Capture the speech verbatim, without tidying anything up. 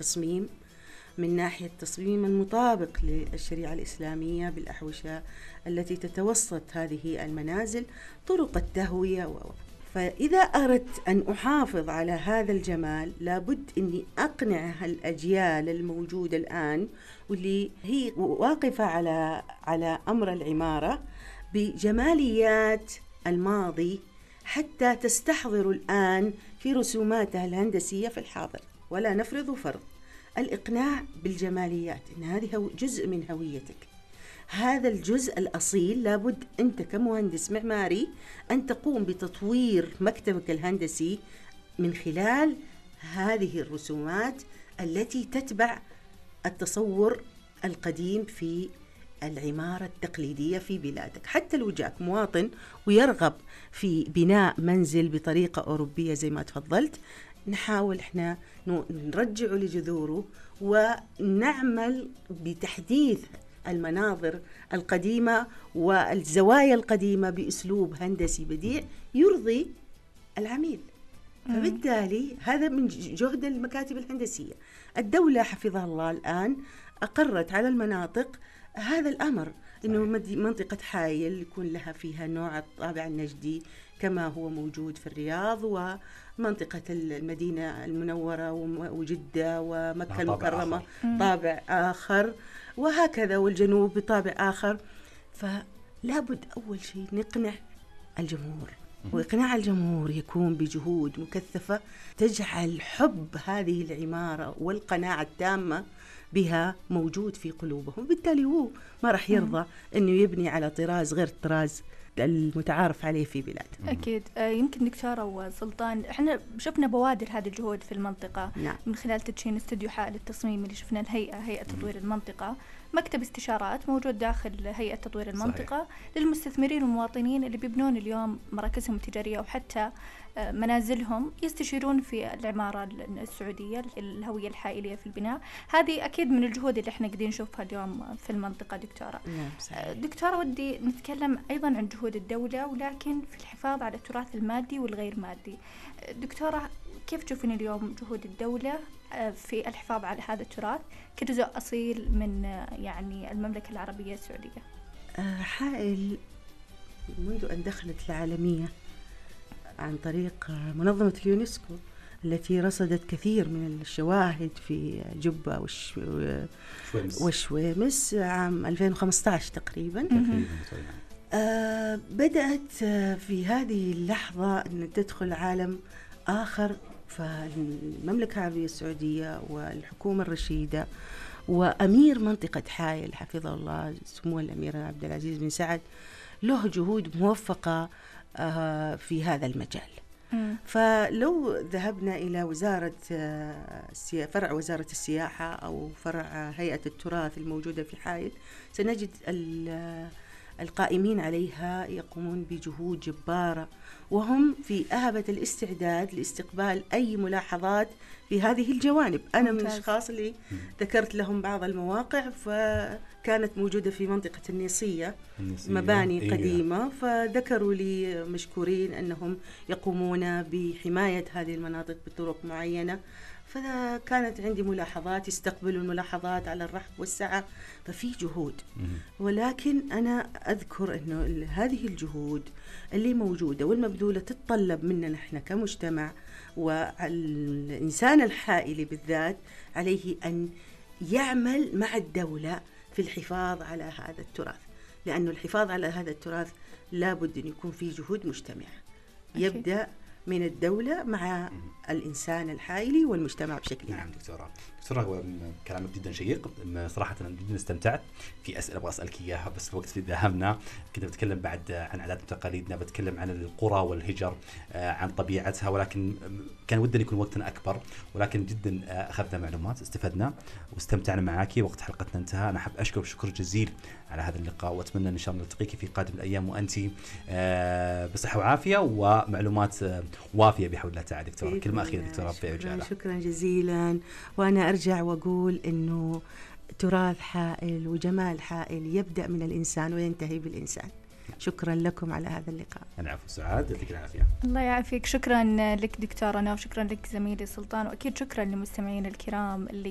تصميم من ناحية التصميم المطابق للشريعة الإسلامية بالأحوشة التي تتوسط هذه المنازل، طرق التهوية و... فإذا أردت أن أحافظ على هذا الجمال لابد أني أقنع الأجيال الموجودة الآن واللي هي واقفة على على أمر العمارة بجماليات الماضي حتى تستحضر الآن في رسوماتها الهندسية في الحاضر. ولا نفرض فرض الإقناع بالجماليات إن هذه جزء من هويتك. هذا الجزء الأصيل لابد أنت كمهندس معماري أن تقوم بتطوير مكتبك الهندسي من خلال هذه الرسومات التي تتبع التصور القديم في العمارة التقليدية في بلادك. حتى لو جاك مواطن ويرغب في بناء منزل بطريقة أوروبية زي ما تفضلت، نحاول إحنا نرجعه لجذوره ونعمل بتحديث المناظر القديمة والزوايا القديمة بأسلوب هندسي بديع يرضي العميل. فبالتالي هذا من جهد المكاتب الهندسية. الدولة حفظها الله الآن أقرت على المناطق هذا الأمر، إنه منطقة حائل يكون لها فيها نوع الطابع النجدي كما هو موجود في الرياض، ومنطقة المدينة المنورة وجدة ومكة المكرمة طابع آخر، وهكذا، والجنوب بطابع آخر. فلا بد أول شيء نقنع الجمهور، وإقناع الجمهور يكون بجهود مكثفة تجعل حب هذه العمارة والقناعة التامة بها موجود في قلوبهم. بالتالي هو ما راح يرضى أنه يبني على طراز غير الطراز المتعارف عليه في بلاد. أكيد. آه يمكن دكتورة وسلطان، إحنا شفنا بوادر هذه الجهود في المنطقة. نعم. من خلال تدشين استوديو حائل التصميم اللي شفنا الهيئة هيئة تطوير المنطقة، مكتب استشارات موجود داخل هيئة تطوير المنطقة. صحيح. للمستثمرين والمواطنين اللي بيبنون اليوم مراكزهم التجارية وحتى منازلهم يستشيرون في العمارة السعودية، الهوية الحائلية في البناء. هذه أكيد من الجهود اللي احنا قاعدين نشوفها اليوم في المنطقة. دكتورة نعم. دكتورة ودي نتكلم أيضا عن جهود الدولة ولكن في الحفاظ على التراث المادي والغير مادي. دكتورة، كيف تشوفين اليوم جهود الدولة في الحفاظ على هذا التراث كجزء أصيل من يعني المملكة العربية السعودية؟ حائل منذ أن دخلت العالمية عن طريق منظمة اليونسكو التي رصدت كثير من الشواهد في جبة وش... وشويمس عام ألفين وخمسة عشر تقريبا. آه بدأت في هذه اللحظة أن تدخل عالم آخر. فالمملكة العربية السعودية والحكومة الرشيدة وأمير منطقة حائل حفظه الله سمو الأمير عبد العزيز بن سعد له جهود موفقة آه في هذا المجال. م. فلو ذهبنا إلى وزارة آه فرع وزارة السياحة أو فرع آه هيئة التراث الموجودة في حائل، سنجد القائمين عليها يقومون بجهود جبارة، وهم في أهبة الاستعداد لاستقبال أي ملاحظات في هذه الجوانب. أنا من الأشخاص اللي ذكرت لهم بعض المواقع، فكانت موجودة في منطقة النيصية مباني إيه قديمة، فذكروا لي مشكورين أنهم يقومون بحماية هذه المناطق بطرق معينة. فكانت عندي ملاحظات، يستقبلوا الملاحظات على الرحب والسعة، ففي جهود. ولكن أنا أذكر أنه هذه الجهود اللي موجودة والمبذولة تتطلب منا نحن كمجتمع، والإنسان الحائلي بالذات عليه أن يعمل مع الدولة في الحفاظ على هذا التراث، لأنه الحفاظ على هذا التراث لابد أن يكون فيه جهود مجتمعة يبدأ من الدولة مع الإنسان الحائلي والمجتمع بشكل عام. نعم دكتورة. دكتورة، هو كلامك جدا شيق، صراحة أنا جدا استمتعت. في أسئلة أبغى أسألك إياها بس الوقت في ذهبنا. كنت بتكلم بعد عن عادات وتقاليدنا، بتكلم عن القرى والهجر، عن طبيعتها، ولكن كان ودنا يكون وقتنا أكبر، ولكن جدا أخذنا معلومات، استفدنا واستمتعنا معاكي. وقت حلقتنا انتهى. أنا أحب أشكرك شكر جزيل على هذا اللقاء، وأتمنى إن شاء الله نلتقيك في قادم الأيام وأنتي بصحة وعافية ومعلومات وافية بحول الله تعالى. دكتورة، كلمة أخيرة دكتورة في عجالة. شكرا جزيلا. وأنا أرجع وأقول إنه تراث حائل وجمال حائل يبدأ من الإنسان وينتهي بالإنسان. شكرا لكم على هذا اللقاء. العفو. سعاد، يعطيك العافية. الله يعافيك. شكرا لك دكتورة نوف، شكرا لك زميلي سلطان، وأكيد شكرا للمستمعين الكرام اللي